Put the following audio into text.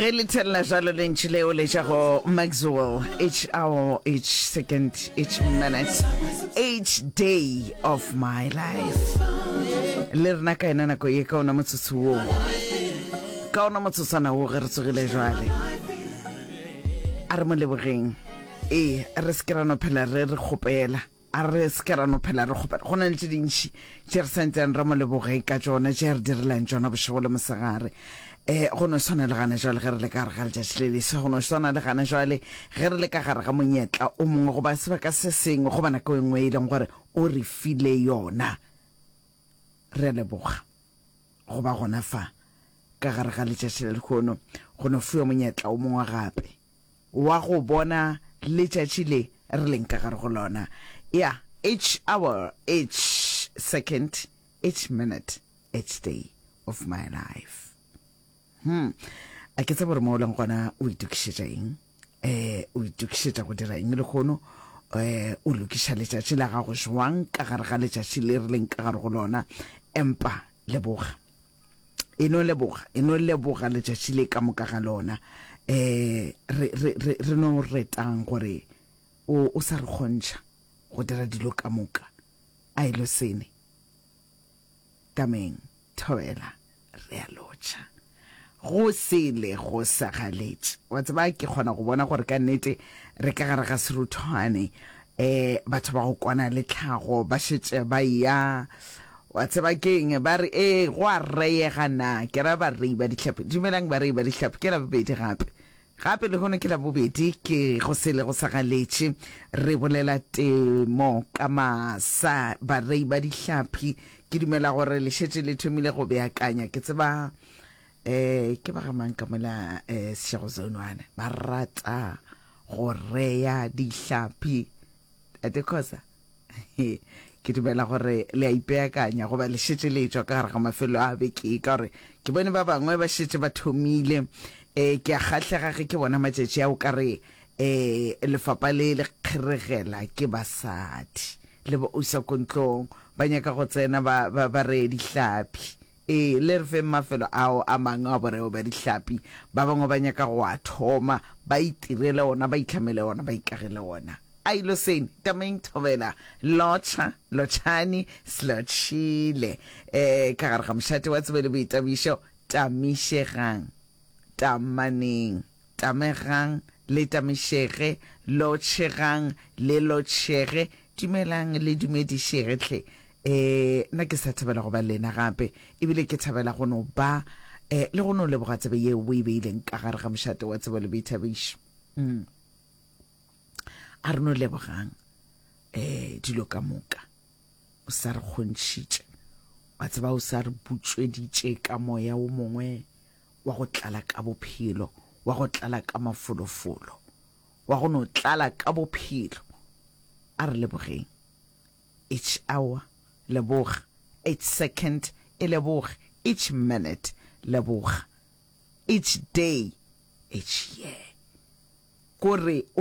Ge le thelela jalo lentšu leo le tša go Maxwell, each hour, each second, each minute, each day of my life. Le rena ka yena nako ye ka ona motsotso wo, ka ona motsotswana wo ge re tsogile jwale. A re mo lebogeng. Ee, re se ke ra no phela re re kgopela. A re se ke ra no phela re kgopela. Go na le tše dintši tše re santseng re mo leboge ka tšona, tše a re direlang tšona bošego le mosegare. Um go no swana le gana jwale ge re le ka gare ga letšatši le leswa, go no swana le gana jwale ge re le ka gare ga monyetla o mongwe goba sebaka se sengwe goba nako e nngwe e leng gore o re file yona. Re a leboga go ba gona fa ka gare ga letšatši la lehono, go no fiwa monyetla o mongwe gape. wa go bona letšatši le re leng ka gare go lona. Ya, each hour, each second, each minute, each day of my life. Hmm. A ke tsebe gore mo o leng gona o itokišetša eng? Eh, o itokišetša go dira eng lehono? Eh, o lokiša letšatši la gago jwang ka gare ga letšatši le re leng ka gare go lona? Empa leboga. E no leboga, e no leboga letšatši le ka moka ga lona. Um re, re, re, re no retang gore o, o sa re kgontšha go dira dilo ka moka. A e lo sene. Tameng, thobela, re a lotšha. Go sele go sa galetše. Wa tseba, ke kgona go bona gore ka nnete re ka gare ga seruthwane. Um batho ba go kwana le tlhago ba šetše ba eya. Wa tseba ke'ng? Ba re, Ee, go a reyega na? Ke ra barei ba dihlapi. Dumelang barei ba dihlapi. Ke Labobedi gape. Gape lehono ke Labobedi, ke go sele go sa galetše. Re bolela temo ka masa. Barei ba dihlapi, ke dumela gore le šetše le thomile go beakanya. Ke tseba um ke ba ga mang ka mola um Seshego Zone one ba rata go reya dihlapi. Tate Khosa. Ke dumela gore le a ipeakanya goba le šetše le etšwa ka gare ga mafelo a beke ka gore ke bone ba bangwe ba šetše ba thomile. Um ke a kgahlega ge ke bona matšatši a o ka re um lefapa le le kgeregela ke basadi le bo usa ko ntlong ba nyaka go tsena ba, ba, ba reye dihlapi. Ee, le re feng mafelo ao a mangwe a boreo bja dihlapi. Ba bangwe ba nyaka go a thoma, ba itirele ona, ba itlhamele ona, ba ikagele ona. A ilo sene, tameng thobela, lotšha, lotšhani, slotšhile. Ee, ka gare ga mošate wa tsebo le boitabišo, tamišegang, tamaneng. Tamegang, le tamišege, lotšhegang, le lotšhege, dumelang, le dumedišege hle. Ee, nna ke sa thabela go ba le lena gape, ebile ke thabela go no ba eh, le go no leboga tsebe yeo o e beileng ka gare ga mošate wa tsebo le boithabišo. Mm. A re no lebogang eh, dilo ka moka. O sa re kgontšhitše, wa tseba o sa re butšweditše ka moya o mongwe wa go tlala ka bophelo, wa go tlala ka mafolofolo, wa go no tlala ka bophelo. A re lebogeng. Each hour, leboga. Each second, e leboge. Each minute, leboga. Each day, each year. Ko re o.